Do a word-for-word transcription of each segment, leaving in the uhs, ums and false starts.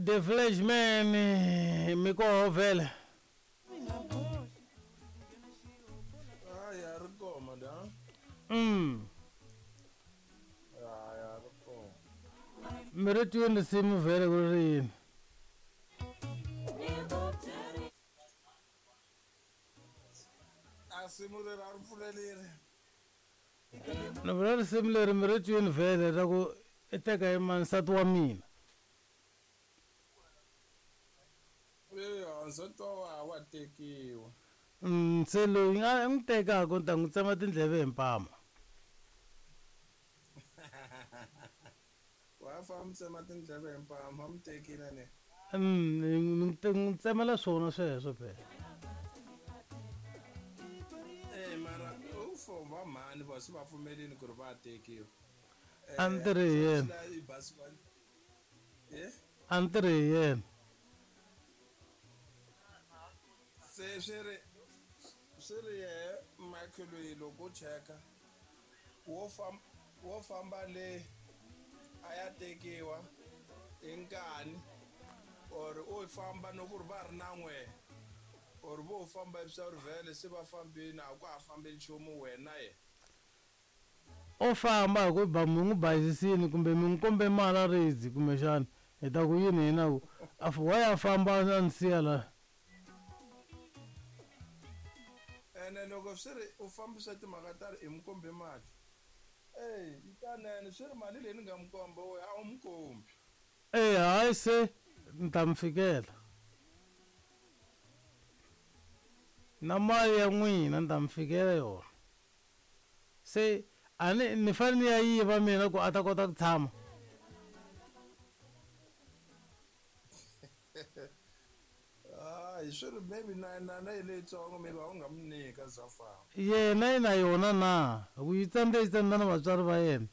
The Flashman mi koho vhele. Ah, ya ri koma da. Mm. Ah, ya ri koma. Mi ri tweni risimu vhele ku ri yini? A simu leri a ri pfulelile. Ni vula risimu leri mi ri tweni vhele ra ku i teka hi mani nsati wa mina. Eya, nsati wa wa wa tekiwa. Mm, se loyi a n'wi tekaka ni ta n'wi tsema tindleve hi mpama. Wa fa mi tsema tindleve hi mpama, mi tekile ne. Mm, ni n'wi tsemela swona sweswo phela. Eh, mara u fo va mhani va se va pfumelini ku ri va tekiwa. A ni tirhi hi yena. Eh? A ni tirhi hi yena. Se swi ri swi ri yehe Michael loyi loko u cheka wo famba wo famba le a ya tekiwa hi nkani or u famba no ku ri va ri na n'we or vo famba hi swa ri vhele se va fambini a ku ha fambi nchumu wena ye. O famba hi ku ba mi n'wi bayizisini kumbe mi n'wi kombe mali a ridzi kumbexana hi ta ku yini hina ku a wa ya famba a ni siya la. Ene loko swi ri u fambisa timhaka ta ri i mi kombe mali. Ey, yi tanene swi ri mali leyi ni nga mi komba we a wu mi kombi. Ey, hayi se ni ta mi fikela. Na mali ya n'wina ni ta mi fikela yona. Se a ni ni fanele ni ya yiva mina ku a ta kota ku tshama. Ah, swi ri maybe na na na leyitsongo maybe a wu nga mi nyika za famba. Yena yi na yona na ku yi tsandze yi tsandza na vatswari va yena.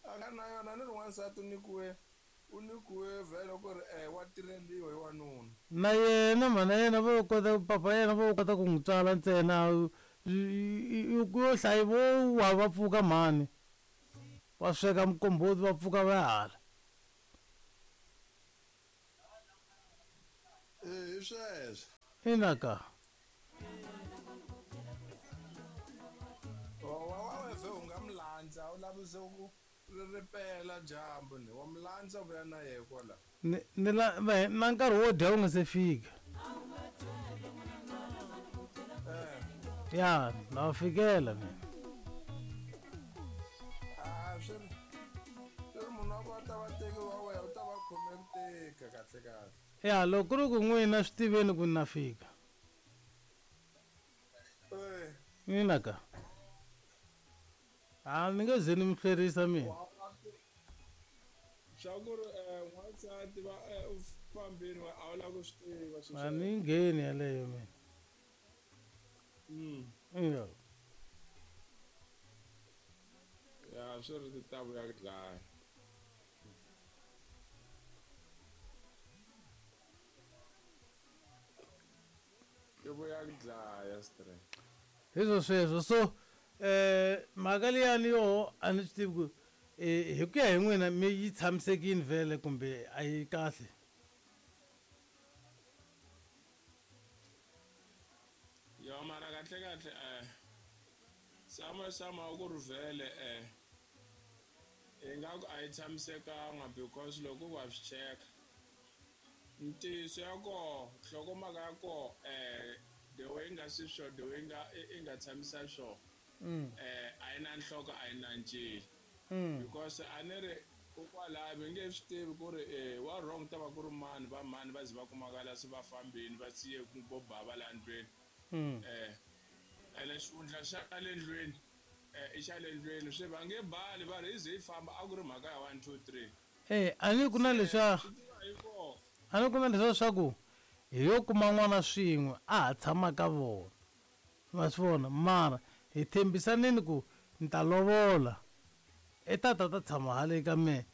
A nga na yona ni ri wansati u nyikiwe u nyikiwe vhele ku ri eh wa tirheliwa hi wanuna. Na yena mhana yena vo kota papa yena vo kota ku n'wi tswala ntsena ku yo hlayi vo wa va pfuka mhani. Va sweka mukomboti va pfuka va hala. Eh, hi sweswo. Ina ka. Wa wa weve u nga mi landza u lavise ku ri ripela dyambu ni wa mi landza vuya na yehe kwala. Ni ni la na nkarhi wo dya wu nga se fika. Eh. Ya, na wa fikela mina. Ah, swi ri swi ri munhu wa ku a ta va tekiwa wena u ta va khome ku tika kahle kahle. Ya, loko ku ri ku n'wina swi tiveni ku na fika. Eh. Ina ka. A ni nge ze ni mi hlwerisa mina. Swa ku ri eh n'wansati va u fambini wa a wu lava ku swi tiva sweswo. A ni ngheni yaleyo mina. Mm. Ya. Ya swi ri ti ta vuya ku dlaya. Ti vuya ku dlaya straight. Hi swo sweswo so eh mhaka liyani yoho a ni swi tivi ku eh hi ku ya hi n'wina mi yi tshamisekile vhele kumbe a yi kahle. Yo mara kahle kahle eh sama sama ku ri vhele eh ingaku a yi tshamisekanga because loko wa swi cheka ntiyiso ya koho nhlokomhaka ya koho eh the way nga swi swo the way nga i nga tshamisa swo Mm. eh a yi na nhloko a yi na ncila. Mm. Because a ni ri kokwalaho mi nge swi tivi ku ri eh wa wrong ta va ku ri mani va mani va ze va kumakala se va fambini va siye ku vo bava la ndlwini. Mm. Eh ene xihundla xa le ndlwini eh i xa le ndlwini swi va nge bali va ri hi ze hi famba a ku ri mhaka ya one two three. Eh a ni ku na leswa Swi tiva hi koho. a ni ku na leswa swa ku hi yo kuma n'wana swin'we a ha tshama ka vona. Ma swi vona mara hi tshembisanini ku ni ta lovola i tata ta tshama hale ka mehe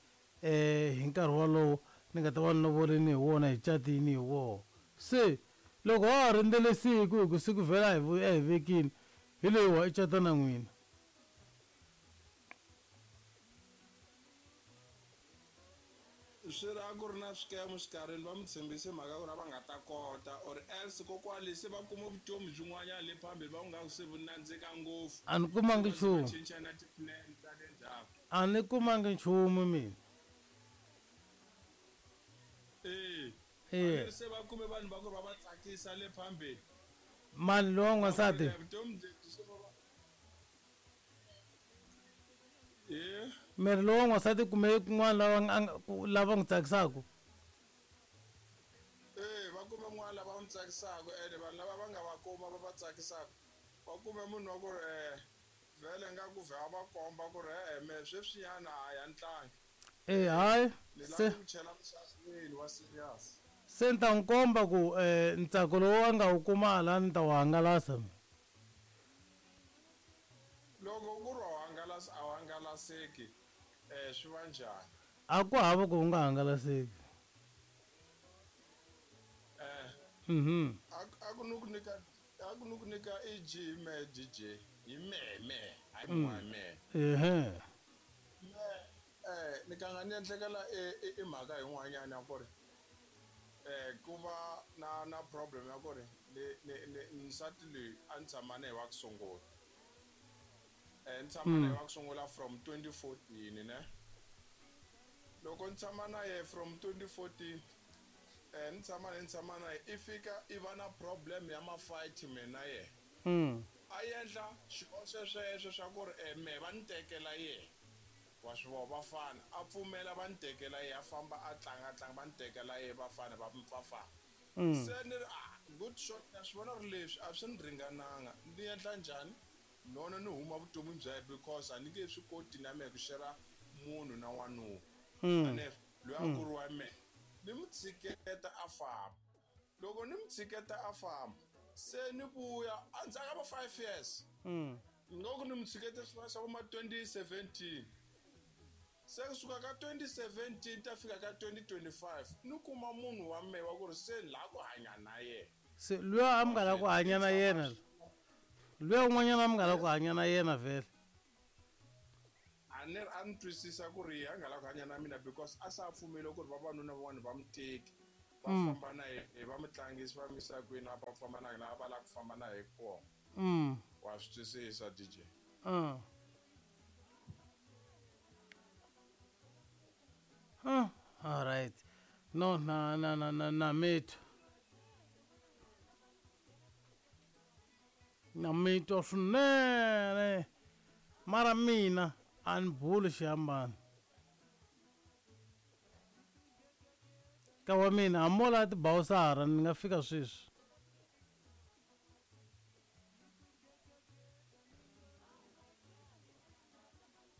eh hi nkarhi wolowo ni nga ta va ni lovolini hi wona hi catini hi wona. Se loko wa ha rindzele siku hi ku siku vhela hi a hi vekini hi leyiwa i cata na n'wina. Swi ri a ku ri na swikemu xikarhini va mi tshembise mhaka ku ri a va nga ta kota or else kokwale se va kuma vutomi byin'wanyana le phambili va ku nga ku se vu nandzika ngopfu. A ni kumangi Va ze va nchumu. cinca na ti-plan ta le ndzhaku. A ni kumangi nchumu mina. Eh. Eh. A ni se va kume vanhu va ku ri va va tsakisa le phambili. Mani lowa n'wansati? Vutomi lebyi se va va Eh. Miri lowa n'wansati kume kun'wana lava nga lava n'wi tsakisaka. Eh, va kume n'wana lava n'wi tsakisaka ene vanhu lava va nga va kuma va va tsakisaka. Va kume munhu wa ku ri eh vhele nga ku vhe a va komba ku ri eh me sweswinyana a ya ntlangi. Eh hayi Ni lava se ku chela muxaxweni wa serious. se ni ta n'wi komba ku eh ntsako lowu a nga wu kuma la ni ta wu hangalasa. Loko ku ri wa hangalasa a wu hangalaseki eh swi va njhani? A ku hava ku u nga hangalaseki. Eh. Mhm. A ku ni ku nyika a ku ni ku nyika E G me D J hi me me hayi n'wana me. Ehe. Me eh ni ka nga ni endlekela i mhaka yin'wanyana ya ku ri eh ku va na na problem ya ku ri ni ni ni nsati loyi a ni tshama na yena wa ku sungula. Eh ni tshama na yena wa ku sungula from twenty fourteen ne. Loko ni tshama na yena from twenty fourteen eh ni tshama na ni tshama na yena i fika i va na problem ya ma-fight mina yena. Mm. A endla xihoxo sweswo swa ku ri eh me va ni tekela yena. Wa swi vona vafana a pfumela va ni tekela yena a famba a tlanga tlanga va ni tekela yena vafana va va famba. Se ni ri ah good shot na swi vona ri leswi a swi ni ringananga ni endla njhani? Nono ni huma vutomini bya yena because a ni nge swi koti na mehe ku share munhu na wanuna. Mm. Ane loyi a ku ri wa mehe ni mu tshiketa a famba. Loko ni mu tshiketa a famba se ni vuya endzhaku ka va five years. Mm. Loko ni mu tshikete swi va swa vo ma twenty seventeen. Se kusuka ka twenty seventeen ta fika ka twenty twenty-five ni kuma munhu wa mehe wa ku ri se ni lava ku hanya na yena. Se luya a mi nga lava ku hanya na yena. Luya un'wanyana a mi nga lava ku hanya na yena vhele. A ni a ni twisisa ku ri a nga lava ku hanya na mina because a sa pfumeli ku ri vavanuna van'wana va mu teki va famba na yena va mu tlangisa va mu yisa kwini a va famba na yena va lava ku famba na yena kona. Mm. Wa swi twisisa D J. Uh. Huh. All right. No, na na na na na mitwa. Na mitwa swinene. Mara mina a ni buli xihambano. Ka wa mina hambi mo lava tibawusara ni nga fika sweswi.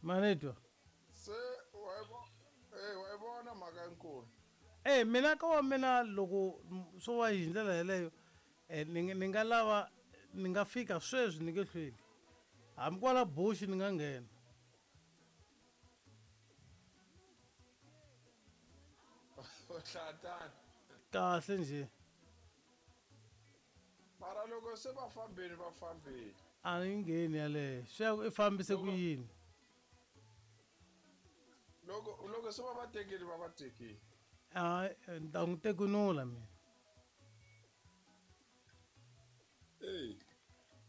Manetwa. Se wa yi vo- eh wa yi vona mhaka yinkulu. Eh mina ka wa mina loko swo va hi ndlela yeleyo eh ni ni nga lava ni nga fika sweswi ni nge hlweli. Hambi kwala bush ni nga nghena. U hlatana. Kahle nje. Mara loko se va fambile va fambile. A ni ngheni yaleyo. Swi ya ku i fambise ku yini? Loko loko se va va tekile va va tekile. A ni ta n'wi tekunula mina. Eh.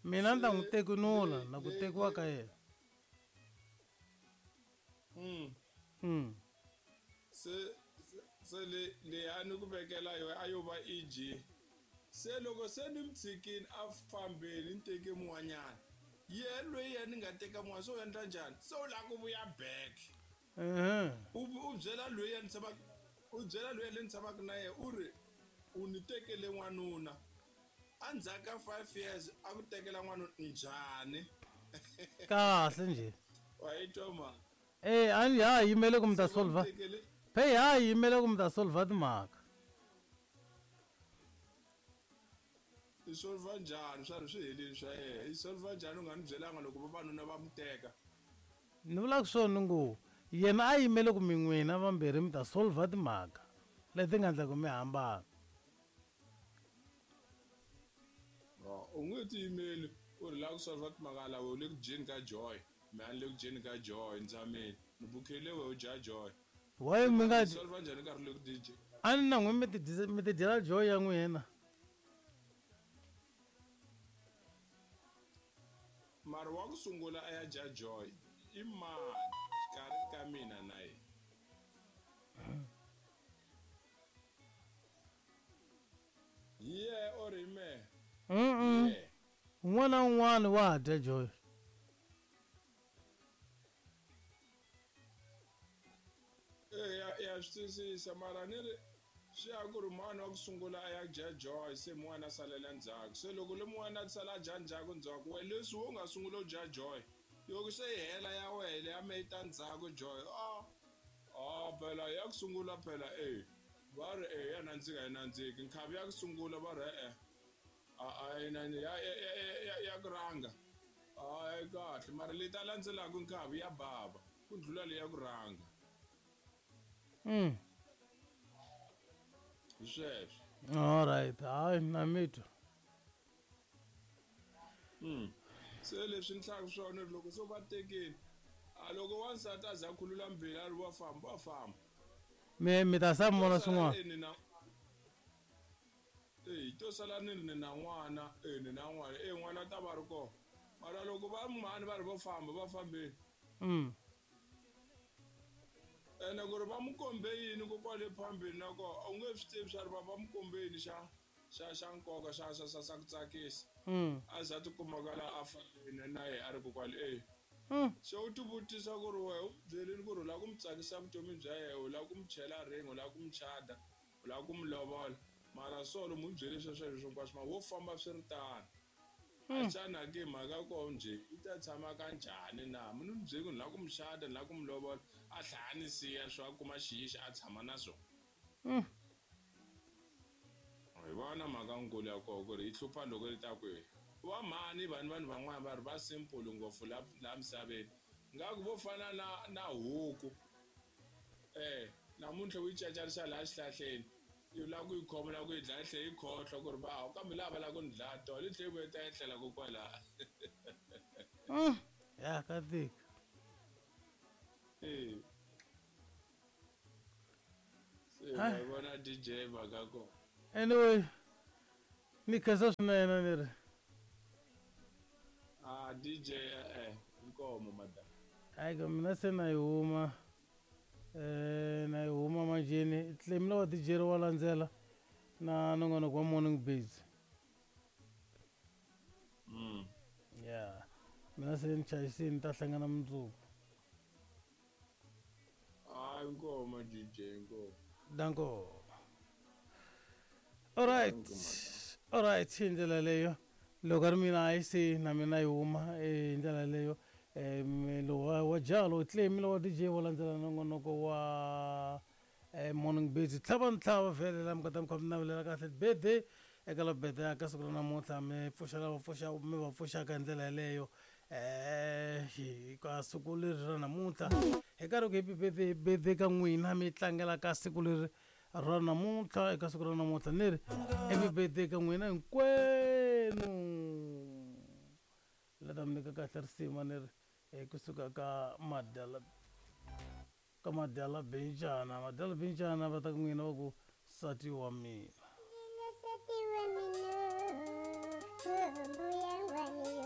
Mina ni ta n'wi tekunula na ku tekiwa ka yena. Mm. Mm. Se se le le a ni ku vekela yona a yo va E G. Se loko se ni mu tshikile a fambile ni teke mun'wanyana. Yena loyi yena ni nga teka mun'wana se u endla njhani? Se u lava ku vuya back. Mhm. U u byela loyi yena ni tshamaka u byela loyi ni tshamaka na yena u ri u ni tekele n'wanuna. Endzhaku ka five years a ku tekela n'wanuna njhani? Kahle nje. Wa yi twa mhaka? Eh a ni ha yimele ku mi ta solve. Tekele Phe ha yimele ku mi ta solve timhaka. I solve njhani swa ri swi helile swa yena? I solve njhani u nga ni byelanga loko vavanuna va mu teka? Ni vulaka swona ngo yena a yimele ku mi n'wina vambirhi mi ta solve timhaka leti nga endla ku mi hambana. U nge ti yimeli u ri lava ku solve timhaka laha u le ku dyeni ka Joy, mina ni le ku dyeni ka Joy ni tshamile ni bukhele wehe u dya Joy. Why mi nga Solve njhani nkarhi lowu D J? A ni na n'wi mi ti mi ti dyela joy ya n'wina. Mara wa ku sungula a ya dya joy i mani xikarhi ka mina na yena? Yeah, or me. Mm. Un'wana na un'wana wa dya joy. Eh ya ya swi twisisa mara ni ri swi ya ku ri mhani wa ku sungula a ya dya joy se mun'wana a salela ndzhaku se loko le mun'wana a sala a dya ndzhaku ndzhaku we leswi wo nga sungula u dya joy loko se yi hela ya wena ya me yi ta ndzhaku joy a a phela ya ku sungula phela e va ri e ya nandzika yi nandziki nkhavi ya ku sungula va ri e-e a a yi ya ya ya ya ku rhanga a yi kahle mara leyi ta landzelaka nkhavi ya bava ku ndlula leyi ya ku rhanga. Mm. Hi sweswo. All right, hayi na mi twa. Mm. Se leswi ni hlaka swona loko so va tekile a loko wansati a za a khulula mbilu a ri wa famba wa famba. Mi mi ta sa mona swin'wana. Eh to sala ni ni na n'wana eh ni na n'wana eh n'wana ta va ri kona mara loko va mhani va ri vo famba va fambile. Mm. Ene ku ri va mu kombe yini ko kwale phambili na kona a wu nge swi tivi swa ri va va mu kombe yini xa xa xa nkoka xa xa xa xa ku tsakisa. Mm. A za tikuma la a fambile na yena a ri ko kwale eh. Mm. Se u ti vutisa ku ri wehe u byelini ku ri u lava ku mu tsakisa vutomi bya yena u lava ku mu chela ring u lava ku mu chada u lava ku mu lovola mara solo mu byele sweswo sweswo hinkwaswo ma wo famba swi ri tano. A xana ke mhaka ko njhe i ta tshama ka njhani na munhu ni byeli ku ni lava ku mu xada ni lava ku mu lovola a tlhela a ni siya swo a kuma xiyixi a tshama na swona. Mm. Hi vona mhaka nkulu ya kona ku ri yi hlupha loko yi ta kwihi. Va mhani vanhu vanhu van'wana va ri va simple ngopfu la la misaveni ngaku vo fana na na huku eh namuntlha u yi cacarisa laha xihlahleni yi lava ku yi khoma lava ku yi dlaya yi tlhela yi khohlwa ku ri va kambe laha va lava ku ni dlaya tolo yi tlhela yi vuya yi ta etlela kokwalaha. Mm. Ya ka tika. Eh. Se va vona D J mhaka kona. Anyway, ni khensa swinene ni ri. Ah D J eh inkomo madam. Hayi ka mina se na yi huma. Eh na yi huma manjheni claim la wa D J wa landzela na nongonoko wa morning biz. Mm. Yeah. Mina se ni chayisini ta hlangana mundzuku. Ah inkomo D J inkomo. Danko. All right. All right, hi ndlela leyo loko ri mina a yi se na mina yi huma hi ndlela leyo um lowa wa jalo claim lowa D J wo landzela nongonoko wa morning biz tlhava ntlhava vhele la mi kota mi kha mi navelela kahle birthday eka la birthday ya ka siku ra namuntlha mi pfuxa lava pfuxa mi va pfuxaka hi ndlela yeleyo eh hi ka siku leri ra namuntlha hi karhi ku happy birthday birthday ka n'wina mi tlangela ka siku leri ra namuntlha eka siku ra namuntlha ni ri happy birthday ka n'wina hinkwenu la ta mi nyika kahle risima ni ri kusuka ka madyala ka madyala bencana madyala bencana va ta ku n'wina va ku nsati wa mina. Nsati wa mina mbuya wa mina.